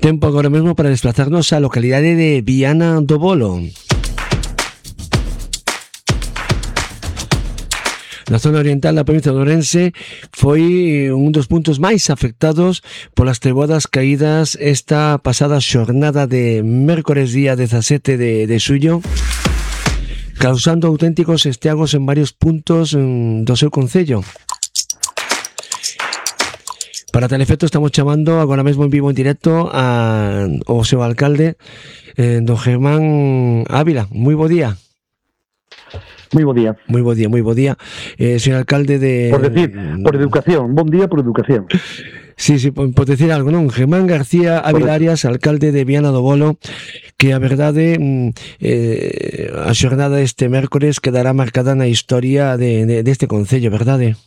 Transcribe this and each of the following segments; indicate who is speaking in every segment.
Speaker 1: Tempo agora mesmo para desplazarnos á localidade de Viana do Bolo. Na zona oriental da provincia de Ourense foi un dos puntos máis afectados polas treboadas caídas esta pasada xornada de mércores día 17 de xullo, causando auténticos estragos en varios puntos do seu concello. Para tal efecto estamos chamando agora mesmo en vivo en directo ao seu alcalde, don Germán Ávila. Moi bo día.
Speaker 2: Moi bo día.
Speaker 1: Moi bo día. Señor alcalde de...
Speaker 2: Por educación. Bon día por educación.
Speaker 1: Sí, por decir algo, non? Germán García Ávila Arias, alcalde de Viana do Bolo, que a verdade a xornada este mércores quedará marcada na historia deste concello, verdade?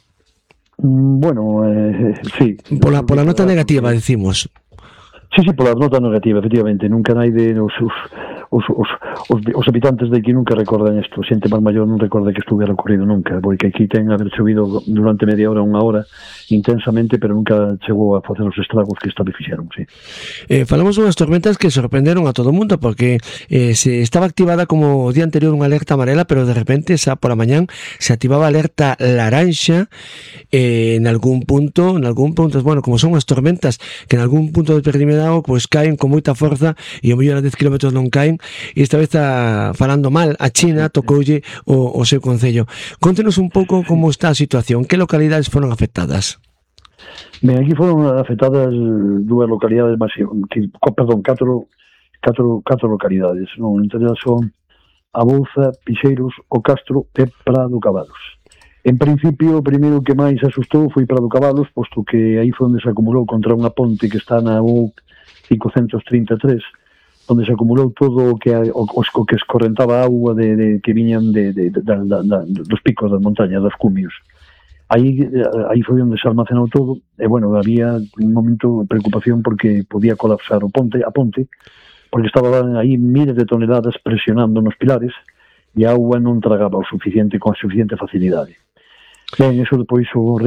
Speaker 2: Bueno, sí.
Speaker 1: Pola nota negativa, decimos.
Speaker 2: Sí, pola nota negativa, efectivamente. Nunca naide os habitantes de aquí nunca recordan isto. Xente máis maior non recorda que estuvera ocurrido nunca, porque aquí ten haber chovido durante media hora, unha hora intensamente, pero nunca chegou a facer os estragos que esta vez fixeron, sí.
Speaker 1: Falamos unhas tormentas que sorprenderon a todo o mundo, porque se estaba activada como o día anterior unha alerta amarela, pero de repente por a mañán se activaba alerta laranxa en algún punto, bueno, como son as tormentas que en algún punto determinado pues caen con moita forza e o mellor a 10 km non caen, e esta vez está falando mal a China, tocoulle o seu concello. Contenos un pouco como está a situación, que localidades foron afectadas?
Speaker 2: Ben, aquí foron afectadas dúas localidades catro localidades, non? Entre elas son A Bouza, Pixeiros, O Castro e Prado Cabalos. En principio, o primeiro que máis asustou foi Prado Cabalos, posto que aí foi onde se acumulou contra unha ponte que está na U533, onde se acumulou todo o que escorrentaba a auga que viñan dos picos das montañas, das cumios. Aí foi onde se almacenou todo, e, bueno, había un momento de preocupación porque podía colapsar a ponte, porque estaban aí miles de toneladas presionando nos pilares e a auga non tragaba con suficiente facilidade. Ben, eso depois o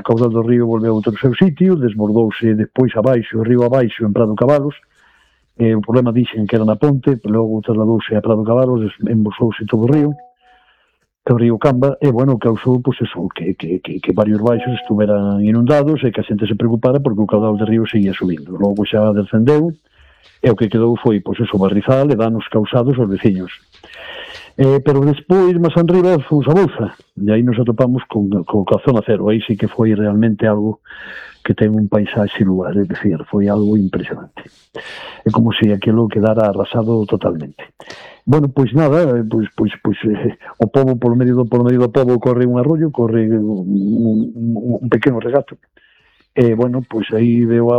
Speaker 2: caudal do río volveu a outro seu sitio, desbordouse depois abaixo, o río abaixo en Prado Cabalos. O problema dixen que era na ponte, pero logo trasladouse a Prado Cabalos, embolsouse todo o río Camba, e, bueno, causou, pois, eso, que varios baixos estuveran inundados e que a xente se preocupara porque o caudal do río seguía subindo. Logo xa descendeu, e o que quedou foi, pois, eso, barrizal e danos causados aos veciños. Pero despois, máis arriba, fomos a Bouza, e aí nos atopamos con a zona cero. Aí sí que foi realmente algo que ten un paisaxe lugar, é dicir, foi algo impresionante. É como se aquilo quedara arrasado totalmente. Bueno, pois nada, o pobo, por medio do pobo, corre un arroyo, corre un pequeno regato, e, bueno, pois aí veo